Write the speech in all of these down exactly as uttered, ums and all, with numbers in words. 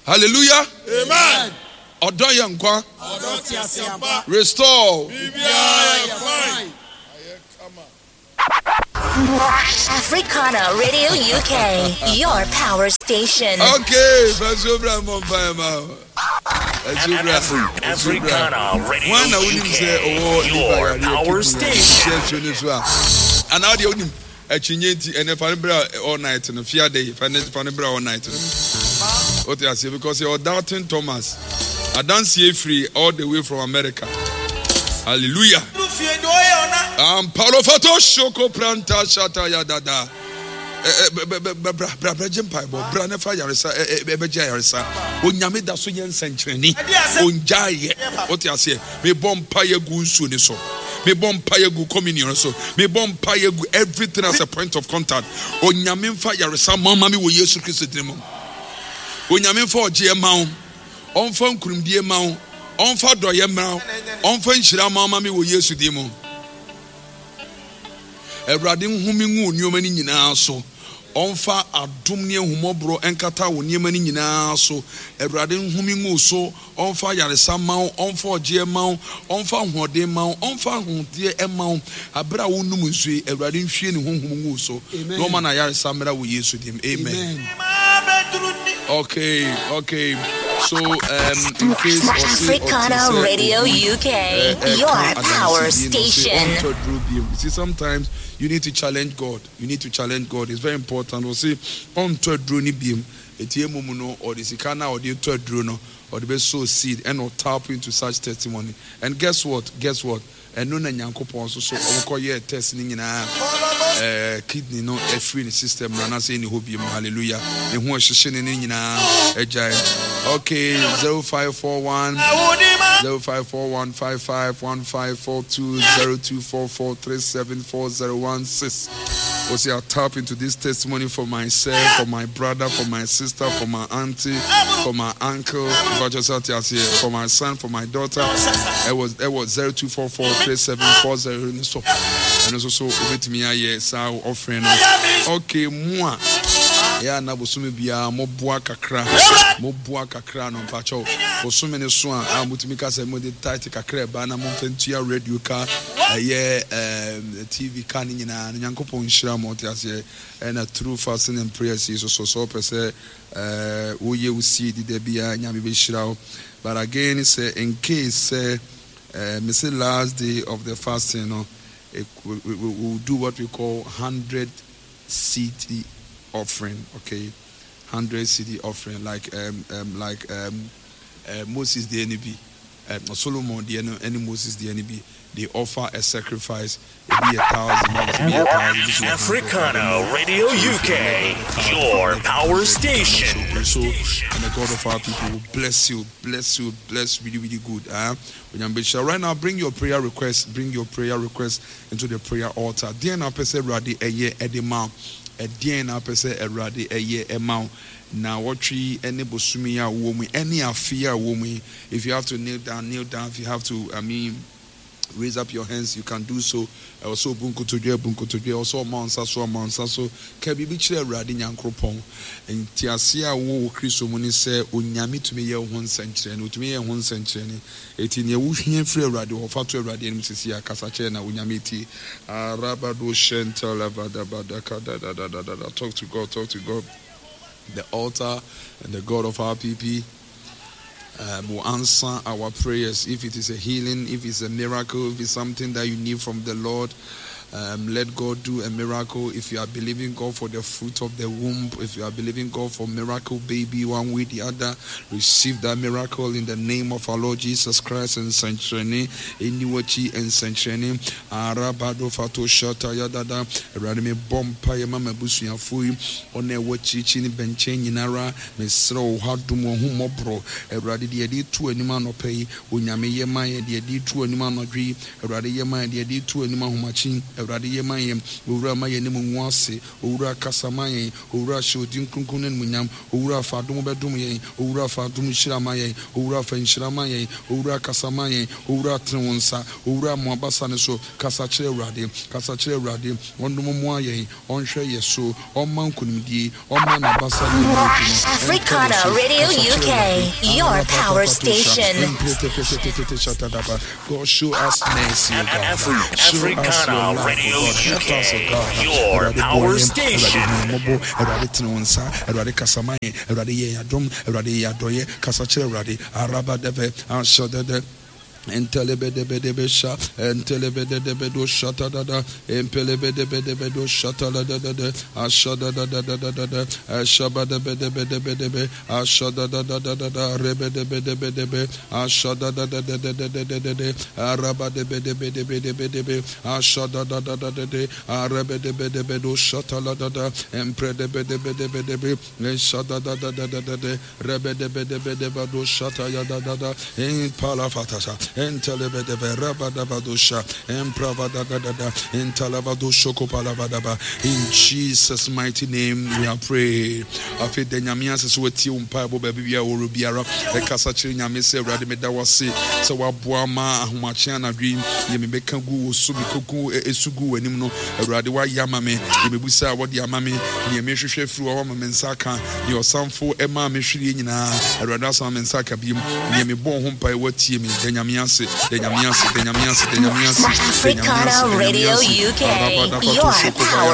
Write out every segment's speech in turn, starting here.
Hallelujah. Amen. Ɔdɔ yɛ nkwa. Ɔdɔ te ase ampa. Restore. Biribiara yɛ fine. Africana Radio U K, your power station. Okay, fɛnso bra mmɔ mpaeɛ ma wo. Ɛnso bra. Ɛnso bra. Africana Radio Wɔn na wonim sɛ ɔwɔ U K, liver your yareɛ power kidney yareɛ station. hyɛ nsuo no so a anaa deɛ wonim akyinye nti ɛnɛ fa no bra all night no fiade yi fa ne fa no bra all night no wote aseɛ because yɛwɔ Dalton Thomas adanseɛ firi all the way from America. Hallelujah. Amparo shoko pranta shata ya dada. Bra bra bra gye mpaebɔ bra ne fa yaresa ɛbɛgye ayaresa. Onyame da so yɛ nsɛnkyerɛnne ongyaeɛ wote aseɛ. Mebɔ mpaeɛ gu nsuo ne so, mebɔ mpaeɛ gu communion so, mebɔ mpaeɛ gu everything as a point of contact. Onyame mfa yaresa ma ma me wɔ Yesu Kristo din mu. Onyame mfa ɔgyeɛ ma wo, ɔmfa nkurumdie ma wo, ɔmfa dɔyɛ mma wo, ɔmfa nhyira ma ma me wɔ Yesu din mu. Awurade nhome ngu nneɛma no nyinaa so, ɔmfa adom ne ahummɔborɔ nkata wo nneɛma no nyinaa so. Awurade nhome ngu so, ɔmfa yaresa ma wo, ɔmfa ɔgyeɛ ma wo, ɔmfa ahoɔden ma wo, ɔmfa ahodeɛ ma wo. Abere a wonum nsuo yi, Awurade nhwie ne honhom ngu so na ɔma no ayaresa mmra wɔ Yesu dim. Amen. okay okay so um, in case Africana Radio U K, your power station. You see, sometimes you need to challenge God. You need to challenge God. It's very important. Ɔse ɔntɔ aduro no biem etie mu mu no ɔde sika na ɔde tɔ aduro no ɔde bɛ sow seed and tap into such testimony. And guess what? Guess what? Ɛno na Nyankopɔn nso so ɔmokɔ yɛ test ne nyinaa ɛɛ kidney no ɛfiri ne system no anaasɛ ɛni hɔ biem. Hallelujah. Ne ho ɛhyehyɛ ne ne nyinaa ɛgyae. Okay, zero five four one zero five four one five five one five four two zero two four four three seven four zero one six. Or say, I tap into this testimony for myself, for my brother, for my sister, for my auntie, for my uncle, for my son, for my daughter. It was it was zero two four four three seven four zero so. And also so obetumi ayɛ saa offering no. Okay, mu a yɛ ana bosome biara moboa kakra, moboa kakra no mpakyɛw bosome ne so a a motumi ka sɛ mode tithe kakra ɛba na momfa ntua radio ka ɛyɛ ɛɛm T V ka ne nyinaa no. Nyankopɔn nhyira mo ɔte aseɛ. Ɛna through fasting and prayers yi so so sɛ wopɛ sɛ ɛɛ woyɛ wo seed da biara, Nyame bɛhyira wo. But again, sɛ in case sɛ ɛɛ mese last day of the fasting no, it, we, we, we will do what we call hundred cedi offering, okay? Hundred cedi offering, like um, um, like um, uh, Moses deɛ no bi, um, Solomon deɛ no ɛne Moses deɛ no bi. They offer a sacrifice. Ebi yɛ thousand, ebi yɛ thousand, ebi yɛ hundred. Africana Radio U K, your power station. So, and the God of our people will bless you, bless you, bless really, really good. Uh, right now, bring your prayer request, bring your prayer request into the prayer altar. Deɛ na wopɛ sɛ Awurade ɛyɛ ɛde ma wo, ɛdeɛn na wopɛ sɛ Awurade ɛyɛ ɛma wo na wɔtwe ɛne bosome a wɔ mu ɛne afe a wɔ mu yi. If you have to kneel down, kneel down. If you have to, I mean, raise up your hands, you can do so. Ɛwɔ sɛ obu nkotodwe abu nkotodwe, ɛwɔ sɛ ɔma nsa so ɔma nsa so ka biribi kyerɛ Awurade Nyankoropɔn. Ntease a wowɔ wɔ Kristo mu ne sɛ Onyame tumi yɛ wo ho nsɛnkyerɛnne, otumi yɛ ho nsɛnkyerɛnne. Eti nea wohia firi Awurade hɔ fa to Awurade anim sisi akasa kyerɛ na Onyame tie. Arabado shɛntalabadabadakadadadadada. Talk to God, talk to God. The altar and the God of our P P um, will answer our prayers. If it is a healing, if it's a miracle, if it's something that you need from the Lord, um, let God do a miracle. If you are believing God for the fruit of the womb, if you are believing God for miracle baby, one way the other, receive that miracle in the name of our Lord Jesus Christ. And Sanchene, Eniwachi and Sanchene, Arabado Fato Shata Yadada, Awurade mebɔ mpaeɛ ma m'abusuafoɔ yi ɔna ɛwɔ akyirikyiri ne bɛnkyɛn nyinara. Mesrɛ wo ha dom wɔn ho mmɔborɔ. Awurade deɛ yɛde to anim anɔpɛ yi, Onyame yɛ ma yɛ. Deɛ yɛde to anim anɔdwe yi, Awurade yɛ ma yɛ. Deɛ yɛde to anim ahomakye Awurade yɛ ma yɛn. Owura ma yɛn anim ngu ase. Owura kasa ma yɛn. Owura hyɛ wo din kronkron no animuonyam. Owura fa adom bɛdom yɛn. Owura fa adom nhyira ma yɛn. Owura fa nhyira ma yɛn. Owura kasa ma yɛn. Owura tene wo nsa. Owura mo abasa ne so. Kasa kyerɛ Awurade. Kasa kyerɛ Awurade. Ɔndom mmoa yɛn. Ɔnhwɛ yɛ so. Ɔmma nkonimdie. Ɔmma n'abasa ne mu adu no. Africana Ɛntɔ yɛ so. Radio Kasa kyerɛ U K, Awurade. your power station. God, show us mercy, O God. Show us your Africana love, O Radio God. Help us, O U K, God. your Awurade boa power yɛn. station. Awurade hu yɛn mmɔbɔ. Awurade tene wo nsa. Awurade kasa ma yɛn. Awurade yɛ yɛn adom. Awurade yɛ adɔyɛ. Kasa kyerɛ Awurade. Araba dɛbɛ, ahyɛ dɛdɛ. Entelebedebedebesha, entelebedebedebo shatadada, empelebedebedebedebo shatadadadada, ashadadadadadada, ashabadebedebedebe, ashadadadadada, rebedebedebedebe, ashadadadadadadadade, arabadebedebedebedebe, ashadadadadade, arebedebedebedo shataladada, empredebedebedebe, eshadadadadadade, rebedebedebedebado shatayadadada, impalafatasa. In Jesus' mighty name we are prayed. Afei da Nyame ase sɛ watie wo mpaebɔ baabi biara wɔwɔ biara. Ɛkasa kyerɛ Nyame sɛ Awurade meda wo ase sɛ woaboa ma ahomakye anadwo yi deɛ mebɛka gu wo so mekɔgu ɛsu gu w'anim no Awurade woayɛ ama me deɛ mebusa a wɔde ama me deɛ mehwehwɛ firi hɔ ama me nsa aka deɛ ɔsamfo ɛmaa me hwereɛ nyinaa Awurade asama me nsa aka biom deɛ mebɔɔ ho mpae watie me da Nyame ase da Nyame ase da Nyame ase da Nyame ase da Nyame ase Africana da Nyame Radio ase. U K, your power Father, we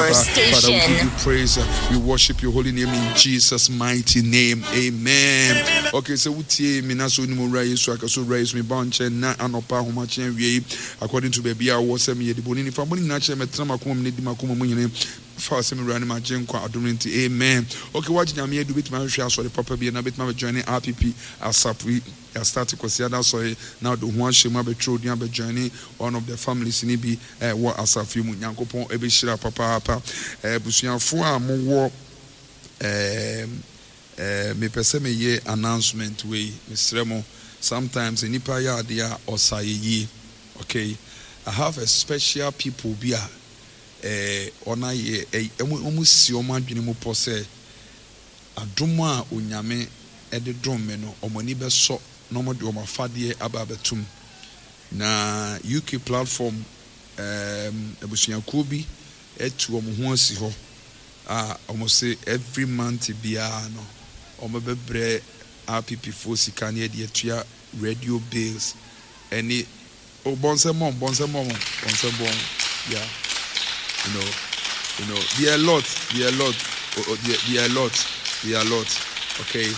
give station. you praise. We worship your holy name in Jesus' mighty name. Amen. Okay, so wotie me na so ni mo wura Yesu aka so wura Yesu me ba nkyɛn na anɔpa ahomakye awie yi according to baabi a wɔ sɛ meyɛ de bɔne nifa mo nyinaa kyerɛ mɛtena makoma mu ne di makoma mu nyene fa sɛ mewura ne magye nkwa adom no nti amen. Okay, wagye Nyame adu bɛtumi ahwehwɛ asɔre papa bi na bɛtumi abɛjoin R P P asafo yi yɛastart Kwasiada asɔre na wode ho ahyɛ mu abɛtwerɛ odin abɛjoin one of the families ni bi ɛwɔ asafo yi mu. Nyankopɔn ɛbɛhyira papaapa. Abusuafoɔ a mowɔ ɛɛm ɛɛ mepɛ sɛ meyɛ announcement wei mesrɛ mo. Sometimes nipa yɛ adeɛ a ɔsa yɛ yie. Okay, I have a special people bi a ɛɛ ɔna yɛ ɛy ɔmo ɔmo si ɔmo adwene mu pɔ sɛ adom a Onyame ɛde dom me no ɔmo ani bɛsɔ na ɔmo de ɔmo afadeɛ aba abɛtum na U K platform ɛɛm abusuakuo bi ɛtu ɔmo ho asi hɔ a ɔmo se every month biara no ɔmo bɛbrɛ R P P foɔ sika ne yɛde atua radio bills ɛne o bɔnsɛm bɔn bɔnsɛm bɔn bɔnsɛm bɔn. Yeah, you know you know there are a lot there are a lot oh, oh, there, there are a lot there are a lot. Okay,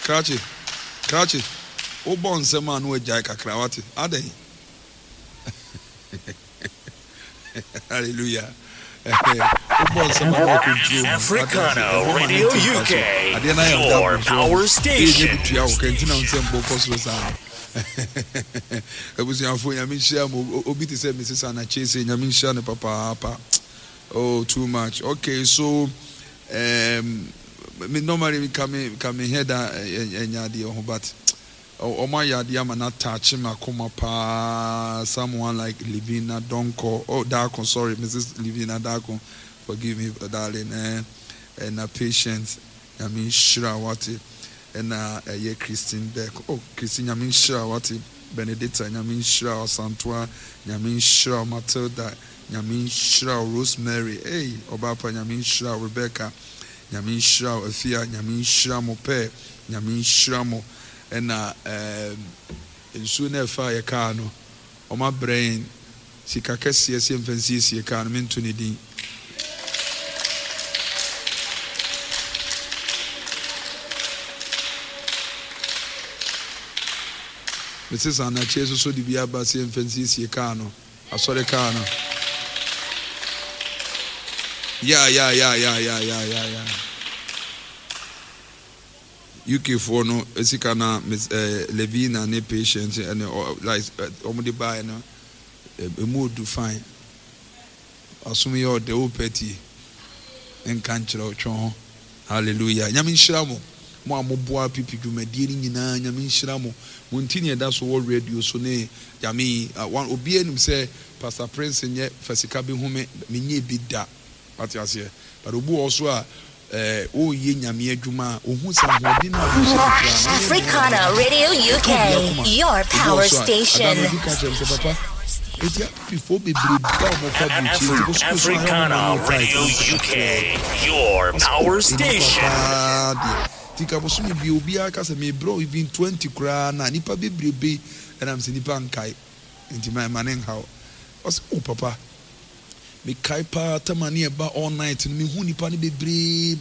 krakye krakye wobɔ nsɛm a na wagyae kakra wate adɛn. Hallelujah. Wobɔ nsɛm a na wakɔntro mu. Africana Radio U K, your power station. Bi tua wo ka nti na nsɛm bɔ kɔ soro saa. Abusuafo, Nyame nhyira mo. Obi te sɛ Missus Anachese, Nyame nhyira no papaapa. Oh, too much. Okay, so um, me normally me ka me ka me head a ɛnya adeɛ ho, but ɔmo ayɛ adeɛ ama na touch me akoma paa. Someone like Livina Donko, oh, Darko, sorry, Missus Livina Darko, forgive me, darling. Eh ɛna Patient, Nyame nhyira wate. Ɛna ɛyɛ Christine Beck, oh, Christine, Nyame nhyira wate. Benedicta, Nyame nhyira. Ɔsantoa, Nyame nhyira. Matilda, Nyame nhyira. Rosemary, hey, ɔbaapa, Nyame nhyira. Rebecca, Nyame nhyira. Afia, Nyame nhyira mo pɛ. Nyame nhyira mo. Ɛna ɛɛm nsuo no ɛfa yɛ kaa no ɔmo abrɛ yɛn sika kɛseɛ sɛ mfa nsiesie kaa no mento ne din. Missus Anakye nso so de bi aba sɛ mfa nsiesie kaa no asɔre kaa no. Ya ya ya ya ya ya ya ya. U K foɔ no sika na Miss ɛɛ Levina ne Patient ɛne ɔ like ɔmo de baeɛ no emu odu fine. Asom yɛ ɔdɛ o pɛ tie nka nkyerɛ ɔtwe ho. Hallelujah. Nyame nhyira mo. Mo a moboa pipi dwumadie no nyinaa, Nyame nhyira mo. Mo nti na yɛda so wɔ radio so ne Nyame yi. Obiara nim sɛ Pastor Prince nyɛ fa sika bɛhu me, menyɛɛ bi da. Wate aseɛ? But obi wɔ hɔ so a, eh, ɔreyɛ Nyame adwuma a, ɔhu sɛ ahoɔden no a ɔde hyɛ mu koraa no, ɔyɛ dɛn Africana a, Radio ɛka U K, obi akoma. your Obi wɔ power hɔ so a, ada station. no obi ka kyerɛ me sɛ, Papa, eti apipifoɔ bebree ba a wɔkɔ aburokyire nti, bosome so a, ɛyɛ wɔn Africana ma no tight Radio na sɛ U K, kakraa bi. your Ɔsɛ, oh, power nnipa station. paa deɛ. Nti ka bosome bi obiara ka sɛ mebrɛ wo even twenty koraa na nnipa bebrebe ɛnam sɛ nnipa nkae. Nti ma ɛma ne nhaw. Ɔsɛ, oh papa, mekae paa tama ne ɛba all night no, mehu nnipa no bebree.